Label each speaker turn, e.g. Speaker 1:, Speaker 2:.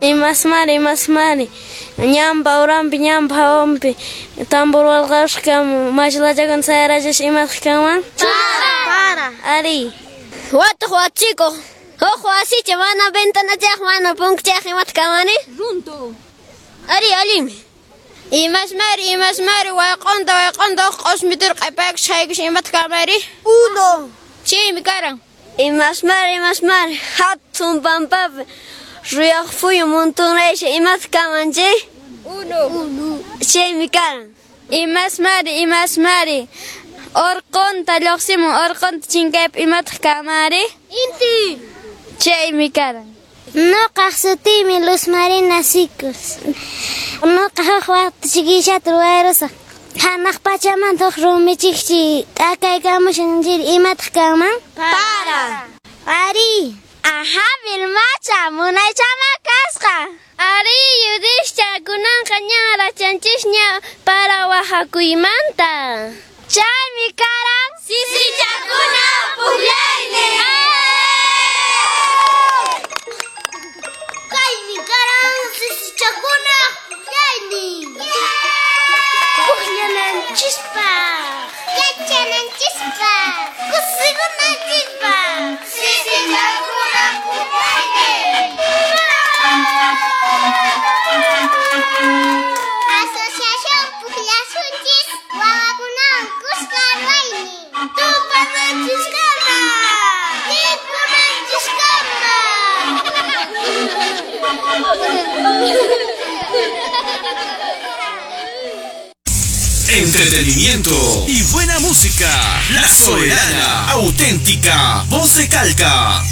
Speaker 1: Imasmari, imasmari, ñanpa uranpi, ñanpa hawanpi, tambor walqarusqa mashlachakun sayarachis imataq kanman?
Speaker 2: Para.
Speaker 1: Para. Ari. Watuq wachikuq, huk wasicha mana ventanachayaq, mana punkuchayaq imataq kanmani?
Speaker 2: Runtu.
Speaker 1: Ari, allinmi.
Speaker 2: Imasmari, imasmari, wayq'unta, wayq'unta huk q'usmitur q'ipaykus haykus imataq kanmari?
Speaker 1: Uno.
Speaker 2: Chaymi karan.
Speaker 1: Imasmari, imasmari, hatun pampapi ruyaq phuyu montonraysi imataq kanman chay?
Speaker 2: Uno.
Speaker 1: Chaymi karan. Imasmari, imasmari, urqunta lluqsimun, urqunta chinkaypa imataq kanmanri?
Speaker 2: Inti.
Speaker 1: Chaymi karan.
Speaker 3: Nuqaq sutiymi Luz Marina Sicus. Nuqa huk waqta chikishata ruwayrusaq. Hanaq pachamanta huk rumichikchi t'akaykamushan chiri imataq kanman?
Speaker 2: Para.
Speaker 3: Ari.
Speaker 1: Aha, Vilmacha, munaychama kasqa. Ari, yudischa, kunanqa ñan rachanchisña para wahakuymanta. Chaymi karan
Speaker 2: Sisichakuna pukllaynin.
Speaker 3: Kaymi karan sisichakuna pukllaynin. Pukllananchispaq, yachananchispaq, kusikunanchispaq.
Speaker 2: Sisichakuna pukllaynin.
Speaker 3: Asociación Pukllasunchis wawakunawan kuska ruwaynin.
Speaker 2: Tupananchiskama. Tinkunanchiskama.
Speaker 4: Entretenimiento y buena música. La Soberana, auténtica, voz de Calca.